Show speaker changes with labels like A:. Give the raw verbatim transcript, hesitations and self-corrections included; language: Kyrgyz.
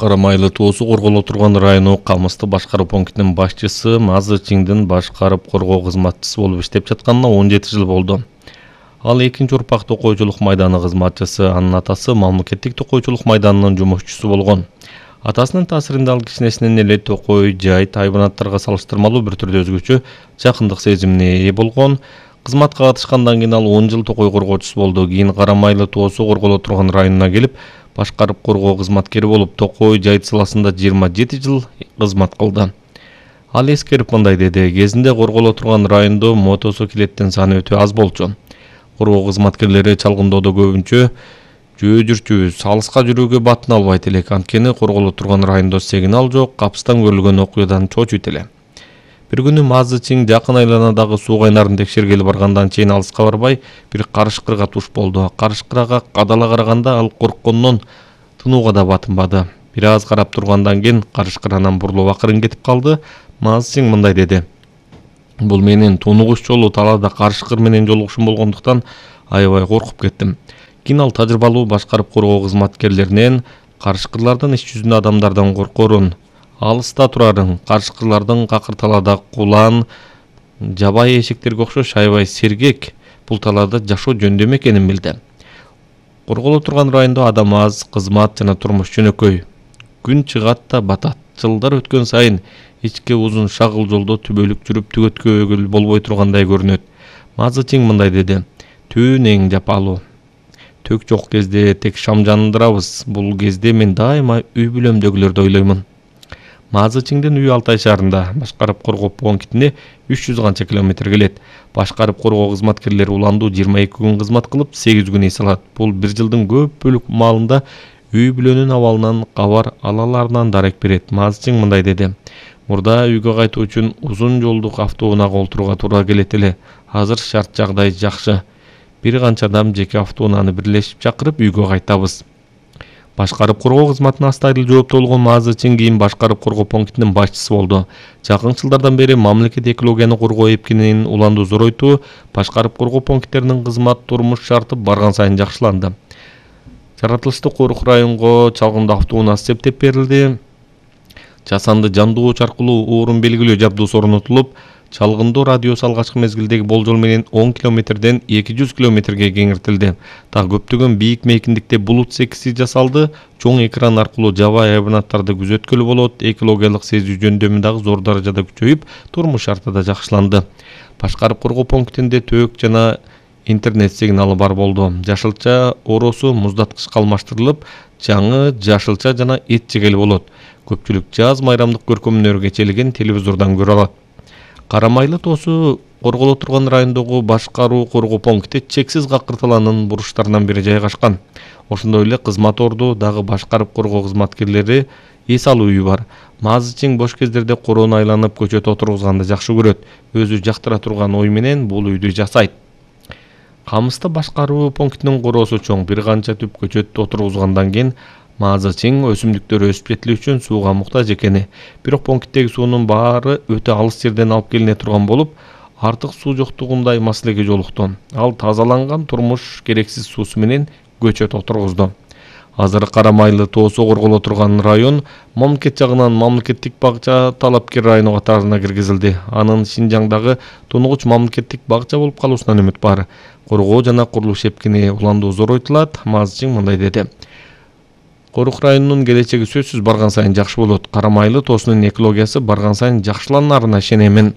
A: Карамайлы тоосу корголо турган району Камысты башкаруу пунктунун башчысы Мазы Чиңдин башкарып коргоо кызматчысы болуп иштеп жатканына он жети жыл болду. Ал экинчи урпак токойчулук майданы кызматчысы, анын атасы мамлекеттик токойчулук майданынын жумушчусу болгон. Атасынын таасиринде ал кичинесинен эле токой, жайыт, хайванаттарга салыштырмалуу бир түрдө өзгөчө жакындык сезимине ээ болгон. Кызматка катышкандан кийин ал он жыл токой коргоочусу болду. Кийин Карамайлы тоосу корголо турган районуна келип, башкарып коргоо кызматкери болуп, токой, жайыт саласында жыйырма жети жыл кызмат кылды. Ал эскерип мындай деди: кезинде корголо турган райондо мотоциклеттин саны өтө аз болчу. Коргоо кызматкерлери чалгындоодо көбүнчө жөө жүрчүбүз, алыска жүрүүгө батын албайт элек. Анткени корголо турган райондо сигнал жок, капыстан көрүлгөн окуядан чочуйт эле. Бир күнү Мазы Чиң жакын айланадагы суу кайнарын текшергеле баргандан чейин алыска барбай, бир карышкырга туш болду. Карышкырга кадала караганда ал корккондон тынууга да батынбады. Бир аз карап тургандан кийин карышкыр анан бурулуп акырын кетип калды. Мазы Чиң мындай деди: "Бул менин тунугуш жолу талаада карышкыр менен жолугушум болгондуктан аябай коркуп кеттим." Кийин ал тажрыйбалуу башкарып коргоо кызматкерлеринен карышкырлардын иш жүзүндө адамдардан коркорун, алыста турарын, карышкырлардын какыр талаада кулан, жабайы эшектерге окшош аябай сергек, бул талаада жашоо жөндөм экенин билди. Корголо турган райондо адам аз, кызмат жана турмуш жөнөкөй. Күн чыгат да батат. Жылдар өткөн сайын ичке узун шагыл жолдо түбөлүк жүрүп түгөткөгө болбой тургандай көрүнөт. Мазы Чиң мындай деди: "Түн эң жапалуу. Тök жок кезде тек шам жандырабыз. Бул кезде мен дайыма үй бүлөмдөгүлөрдү ойлоймун." Мазы Чиңдин үйү Алтай шаарында, башкарып коргоо пунктине үч жүз канча километр келет. Башкарып коргоо кызматкерлери уландуу жыйырма эки күн кызмат кылып, сегиз күн эс алат. Бул бир жылдын көп бөлүк маалында үй бүлөнүн абалынан кабар алаларынан дарек берет. Мазы Чиң мындай деди: "Мурда үйгө кайтуу үчүн узун жолдук автоунаага олтурууга туура келет эле. Азыр шарт жагдай жакшы. Бир канча адам жеке автоунааны бирлешип чакырып үйгө кайтабыз." Башкарып коргоо кызматына астайыл жооптуу болгон Мазы Чиң кийин башкарып коргоо пунктунун башчысы болду. Жакын жылдардан бери мамлекет экологияны коргоо эпкинин уланду зоройтуу, башкарып коргоо пункттеринин кызмат турмуш шарты барган сайын жакшыланды. Жаратылышты Корук районго чалгындоо автоунаасы септеп берилди. Жасанды жандооч аркылуу орун белгилөө жабдуусу орнотулуп, чалгындоо радиусу алгачкы мезгилдеги болжол менен он километрден эки жүз километрге кеңиртилди. Дагы көптөгөн бийик мейкиндикте булут секиси жасалды. Чоң экран аркылуу жабайы хайванаттарды күзөткөлү болот. Экологиялык сезүү жөндөмү дагы зор даражада күчөйүп, турмуш шарты да жакшыланды. Башкарып коргоо пунктинде төөк жана интернет сигналы бар болду. Жашылча оросу муздаткычка алмаштырылып, жаңы жашылча жана эт жегели болот. Көпчүлүк жаз майрамдык көркөмүнөргө чечилген телевизордон көрө алат. Карамайлы тоосу корголо турган райондогу башкаруу коргоо пункти чексиз какыр талаанын буруштарынан бири жайгашкан. Ошондой эле кызмат орду дагы башкарып коргоо кызматкерлери эс алуу үйү бар. Мазы Чиң бош кездерде короону айланып көчөт отургузганды жакшы көрөт. Өзү жактыра турган ой менен бул үйдү жасайт. Камысты башкаруу пунктунун короосу чоң. Бир канча түп көчөт отургузгандан кийин Мазы Чиң өсүмдүктөр өсүп жетили үчүн сууга муктаж экени, бирок пункттеги суунун баары өтө алыс жерден алып келине турган болуп, артык суу жоктугундай маселеге жолукту. Ал тазаланган турмуш керексиз суусу менен көчөт отургузду. Азыр Карамайлы тоосу корголо турган район мамлекет жагынан мамлекеттик багча талапкер району катарына киргизилди. Анын Шинжаңдагы тунугуч мамлекеттик багча болуп калуусунан үмүт бар. Коргоо жана курулуш эпкини уландуу зоройтулат. Мазы Чиң мындай деди: "Корук районунун келечеги сөзсүз барган сайын жакшы болот. Карамайлы тоосунун экологиясы барган сайын жакшыланарына ишенемин."